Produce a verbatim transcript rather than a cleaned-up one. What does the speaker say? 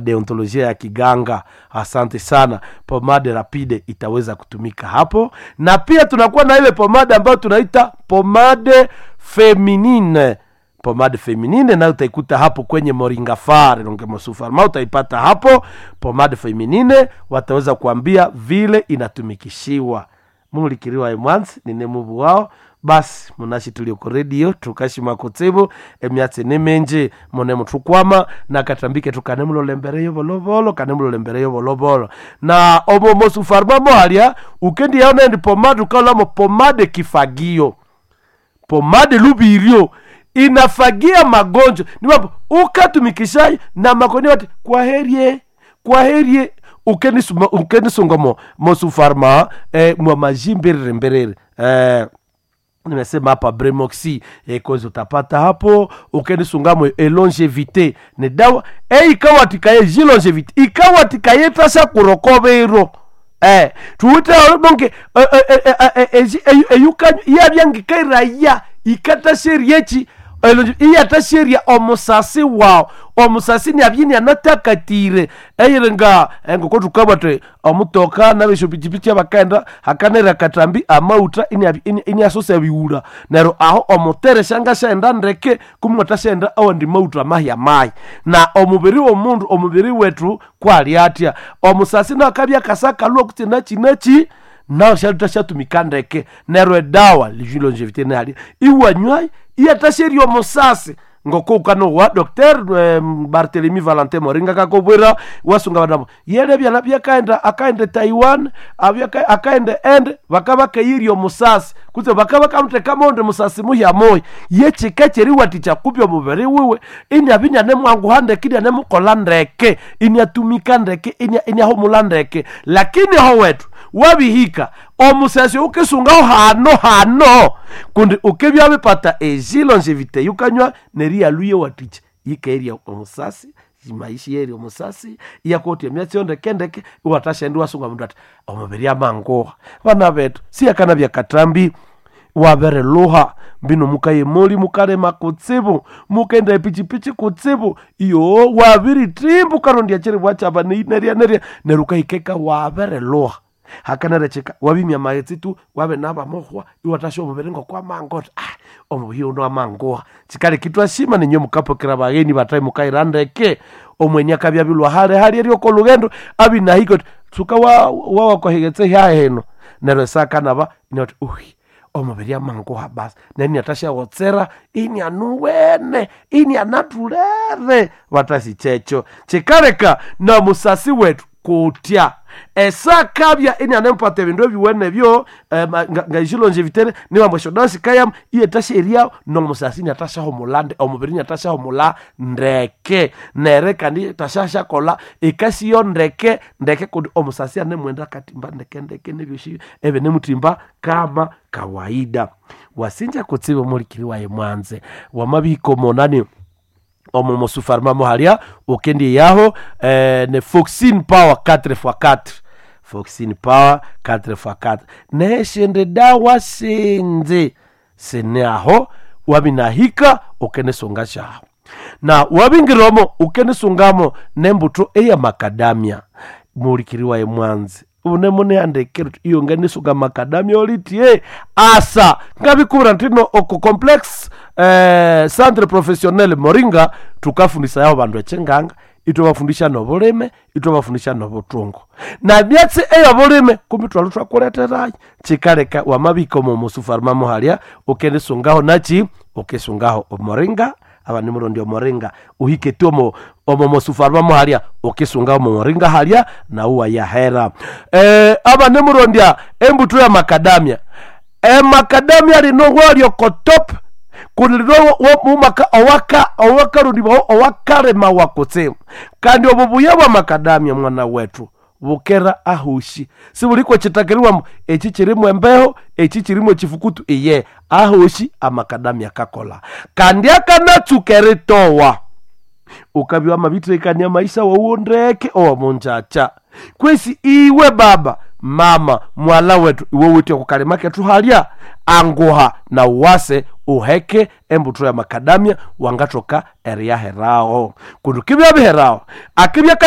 Deontolojia ya kiganga. Asante sana. Pomade rapide itaweza kutumika hapo, na pia tunakuwa na ile pomade ambayo tunaita pomade feminine. Pomade feminine nayo utaikuta hapo kwenye Moringa Far Longemosufarma, utaipata hapo pomade feminine, wataweza kuambia vile inatumikishiwa. Mulikiriwa emwanzi nine mubu wao basi munashi tulioko redio tukashima kutsibu emyatsi ni minji mune muthukwama na katambike tukanemulolembereyo volovolo kanemulolembereyo volovolo na omo mosufarma mohalya ukendi yaona ndi pomade ukaolamo pomade kifagio pomade lubiryo inafagia magonjwa niwapo ukatumikishayo na makoni wati kwaherie kwaherie ukenisuma ukenisunga mosufarma eh, mwa majimbirire mbirire eh, nimesema hapa bremoxi eh, kozi utapata hapo ukenisungamo elongevité ni dawa e ikawatikaye jilongevité ikawatikaye tasha kurokobero eh tuwite bonke eyukanyu yabyangikairaya ikatasheriechi iyatasheria omusasi wawu omusasi niabyini anatakatire eyiringa engoko tukabwate omutoka nabeshopichipichi abakaenda hakanera katambi amauta iniasosa biwula neryo aho omutere shangashaenda ndeke kumwatashaenda awandi mauta mahya mayi na omubiri womundu omubiri wetu kwali atya omusasi nakabya kasakalwa kuti nachi nachi nawo shalutashatumika ndeke neryo edawa longevité nalya iwanywayi iyatasherya omusasi ngoko ukanowa Docteur eh, Barthelemy Valentin Moringa kakobwera wasunga banabo yele byana byakaenda akaenda Taiwan abyaka akaenda ende bakaba kayirya omusasi kutse bakaba kamuteka monde musasi muhya moya yechika cheriwaticha kupya omubiri wiwe inya binya nemwanguha ndeke inya nemukola ndeke inyatumika ndeke inya inyahumula ndeke lakini ho wetu wabihika omusasi ukisungaho hano hano kundi ukibya bipata ejilongevité yukanywa neriyaluye waticha yikaerya omusasi maishi yeri omusasi iyakotya emyatsi yo ndekendeke iwatashaenda iwasunga mundu ati omubiri amanguha bana betu siyakana byakatambi wabereluha mbino mukayemoli mukalema kutsibu mukenda epichipichi kutsibu iyo wabiritimbu karondya chiribwa chaba nerya nerya neryo ukahikeka wabereluha hakanarecheka wabimya maghetse tu wabe nabamuhwa iwatasha omubiri ngokwamango ah omubiri uno amanguha chikali kitwashima ninyo mukapokera bagheni batai mukaira ndeke omwenye akabya bilwa hale hali eryoko lugendo abinahiko tsuka wa wawakohegetse hyaheno neryo sakanaba inati uhi omubiri amanguha basi neni atashawotsera ini anuwene ini anatulere batasi checho chikaleka na musasi wetu kutya esakabya ini anempata ebindu ebiwene byo eh, ngaishilonjevitere niwambweshodasikayam iyetasheria nomusasi niatashahumula omubiri niatashahumula ndeke nere kandi tashashakola ikasiyo ndeke ndeke kundi omusasi anemwenda katimba ndeke ndeke nebyoshi ebe nemutimba kama kawaida wasinja kutsiba mulikiri waye mwanze wamabiko monani omo mosufarma mohalya ukendi yaho eh, ne foxin power quatre x quatre foxin power quatre x quatre neshende dawa sinze sene aho wabinahika ukenesunga shaho na wabingiromo ukenesungamo nembuto eya makadamia mulikiri waye mwanzi unemuneandekere iyo nganisuka makadamia olitie asa ngabikubira ntino oko complex eh, centre professionnel Moringa tukafundisa yao bandu echenganga itwabafundisha nobulime itwabafundisha nobutungo na myatsi eyobulime kumbi twali twakuleterayo chikaleka wamabika omo musufarma muhalya ukendisungaho nachi ukisungaho omoringa aba ni murundi omoringa uhike tu omo omo musufarma muhalya ukisunga omo moringa halya na uwa yahera e, aba ni murondya embuto ya makadamia emakadamia lino walyo kotop kundi mumaka owaka owakarundibwaho owakalema wakutsibu kandi obo buya bwa makadamia mwana wetu bukera ahushi sibuliko chitakiriwamo echi chirimu embeho echi chirimu echifukutu iye ahushi amakadamia kakola kandi akanatsuka eritowa ukabya wamabitrekania maisha wawuo ndeke owamunjacha kwesi iwe baba Mama mwala wetu, iwe withe okukalima kethu halya, anguha na wase uheke embuto ya makadamia, wangathoka eriyaheraho. Kundi kibya biheraho akibya kahika.